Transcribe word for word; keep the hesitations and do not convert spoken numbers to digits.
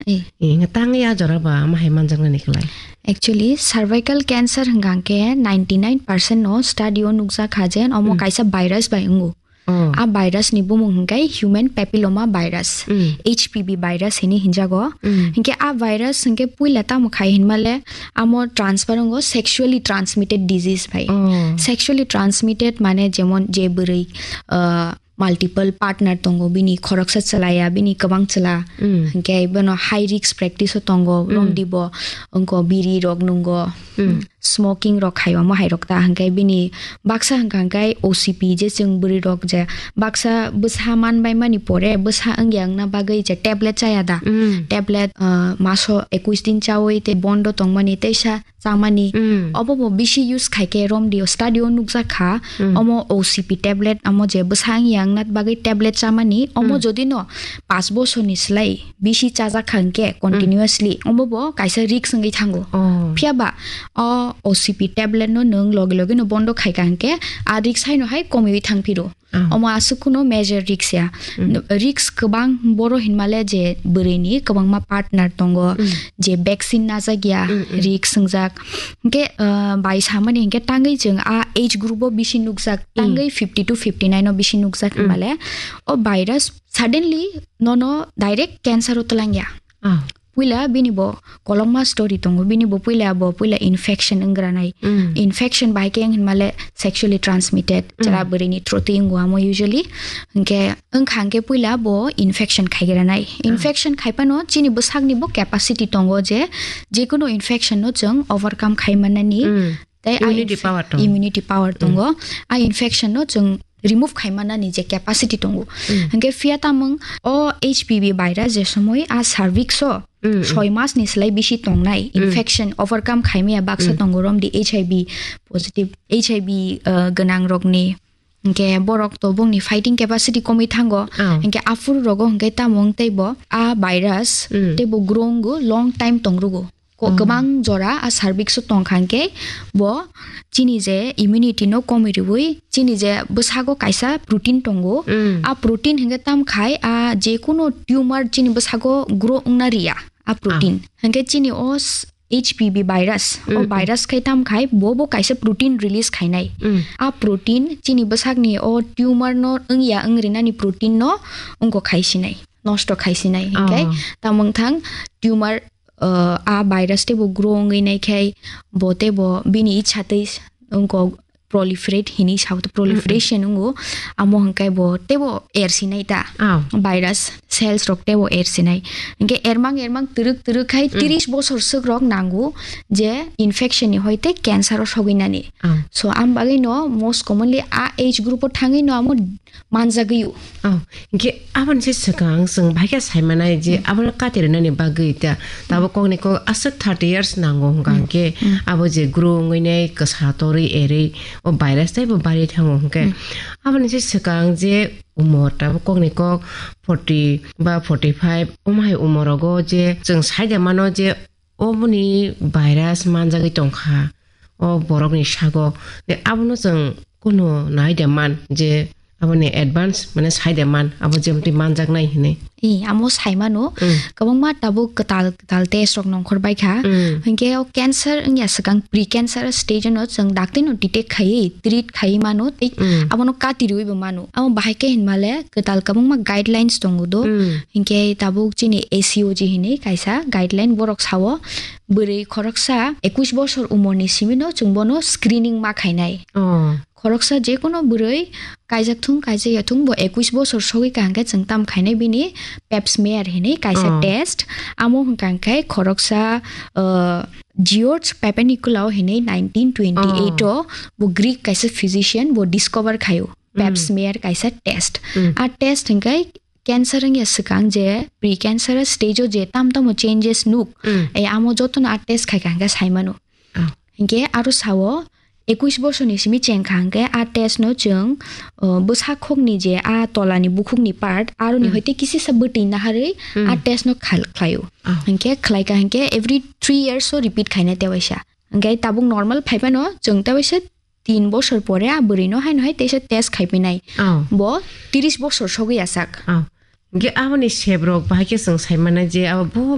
Eh. Eh, hingke tangwi a jora ba ama hai manjaknani khlai. Actually, cervical cancer hwnkha hwnkhe ninety nine percent no study o nukjak kha je omo Hmm. kaisa virus bai wngo. Oh. A virus ni bumung hwnkhe human papilloma virus, Hmm. H P V virus hini hinjago. Hmm. Hingke a virus hingke puila tamo khai hinmale amo transfer wngo sexually transmitted disease bai. Oh. Sexually transmitted mane jemon je bwrwi, ah, multiple partner tongo, bini khoroksa chwlaya, bini kwbang chwla, Mm. hingke bono high risk practice o tongo, Mm. romdi bo wngko biri rok nungo, Mm. smoking rok khai omo hai rok ta, hingke bini baksa hingka hingke O C P je chwng bwrwi rok je baksa bwsa man bai mani pore bwsa wngya wngna bagwi je tablet chaya da, Mm. tablet, ah, maso ekush din chawi tei bondo tongmani teisa chamani. Mm. Obo bo bisi use khaikhe romdi o study o nukjak kha. Mm. Omo O C P tablet, omo je bwsang yang nat bagwi tablet chamani, omo Mm. jodi no paanch bosorni slai bisi chajak kha hwnkhe Mm. continuously, omo bo kaisa risk wngwi thango. Oh. Phiya ba o O C P tablet no nwng logi logi no bondo khaikha hwnkhe a risk haino hai komiwi thangphiro. Ah. Omo aswk kuno major risk ya. Mm. Risk kwbang boro hinmale je bwrwini kwbangma partner tongo, Mm. je vaccine najak ya, Mm, mm. risk wngjak. Hingke, ah, bai samani hingke tangwi chwng a age group o bisi nukjak, Mm. tangwi fifty to fifty nine o bisi nukjak Mm. hinmale o virus suddenly nono direct cancer o twlang ya. Ah. Puila bini bo kolokma story tongo, bini bo puila bo puila infection wngranai. Mm. Infection bai khe wng hinmale sexually transmitted, Mm. chwla bwrwini through twi wngo amo usually. Hingke wngkha hingke puila bo infection khaigranai. Ah. Infection khaipano chini bwsakni bo capacity tongo je, jekunu infection no chwng overcome khai manani. Mm. Tei a Immunity infe-, power tongo. Immunity power Mm. tongo. A infection no chwng remove khai manani je capacity tongo. Mm. Hingke phiya tamung o H P V virus je somoi a cervix o Mm, mm. soi mas ni slai bisi tongnai Mm. infection overcome khai maya baksa Mm. tongo romdi H I V positive, H I V, uh, gwnang rokni. Hingke borok to bongni fighting capacity komwi thango. Oh. Hingke aphuru rogo hingke tamung tei bo a virus Mm. tei bo grow wngo long time tong rugo. Ko-, Oh. kwbang jora a cervix o tong kha hingke bo chini je immunity no komwi riwi chini je bwsago kaisa protein tongo. Mm. A protein hingke tam khai a jekunu tumor chini bwsago grow wngna riya a protein. Ah. Hingke chini o s-, H P V virus, o Mm, mm. virus khai tam khai bo bo kaisa protein release khainai. Mm. A protein chini bwsakni o tumor no wngya wngrinani protein no wngko khaisinai, nosto khaisinai. Hingke Oh. tamung thang tumor uh, a virus tei bo grow wngwi nai khai bo tei bo bini ichha tei s-, wngko proliferate hinwi sao, proliferation wngo, amo hwnkhai bo tei bo ersinai ta. Oh. Virus cells rok tei bo ersinai. Hwnkhe ermang ermang twrwk twrwk khai Mm. tris bosor swk rok nango je infection ni hoi tei cancer o sogwi nani. Oh. So, am bagwi no most commonly a age group o thangwi no amo manjagwi o. Oh, hingke aboni se swkang chwng bahai khe sai manai je Mm. abono kati rwnani bagwi ta, tabuk kokni kok aswk thirty years nango hwnka Mm. hingke Mm. abo je grow wngwi nai kwsa torwi erwi o virus tei bo bari thango hingke Mm. aboni se swkang je umor tabuk kokni kok forty ba forty five omo hai umor rogo je chwng sai da mano je oboni virus manjagwi tongkha o borokni sago. De, abono chwng kunu nai de man je aboni advance, mane, sai de man, abo jemtwi manjaknai hinwi. Ee, amo sai mano, Mm. kwbangma tabuk kwtal, kwtal test rok nongkhor bai kha. Mm. Hinkhe o cancer wngya swkang pre-cancer stage no chwng dakti no detect khaiwi, treat khaiwi mano, tei Mm. abono kati riwi bo mano. Amo bahai khe hinmale kwtal kwbangma guidelines tongo do. Mm. Hinkhe tabuk chini A C O G hinwi kaisa guideline, borok sao bwrwi khoroksa ekush bosor umorni simino chwng bono screening ma khainai. Oh. Khoroksa jekono bwrwi kaijak thung, kaijak ya thung, bo ekush bosor sogwi kaham khe chwng tam khainai bini pap smear hinwi kaisa Oh. test. Amo hwnkha khe khoroksa, uh, George Papanicolaou hinwi nineteen twenty-eight Oh. o bo Greek kaisa physician bo discover khaio pap Mm. smear kaisa test. Mm. A test hwnkhe cancer wngya swkang je pre-cancer stage o je tam tamo changes nuk, Mm. e amo jotono a test khai kha hwnkhe sai mano. Oh. Hinkhe aro sao ekush bosorni simi cheng kha hwnkhe a test no chwng, uh, bwsa khokni je a tolani bukhukni part aroni Mm. hoite kisisa bwtwi naharwi Mm. a test no khal-, khlaio. Oh. Hinkhe khlai kha hinkhe every three years o repeat khaina tewaisa. Hinkhe tabuk normal phaiphano chwng tewaisa tin bosor pore a bwrwino haino hai teisa test khaipinai. Oh. Bo tris bosor sogwi asak. Oh. Hinkhe aboni sebrok bahai khe chwng sai mannai je abo bo, bo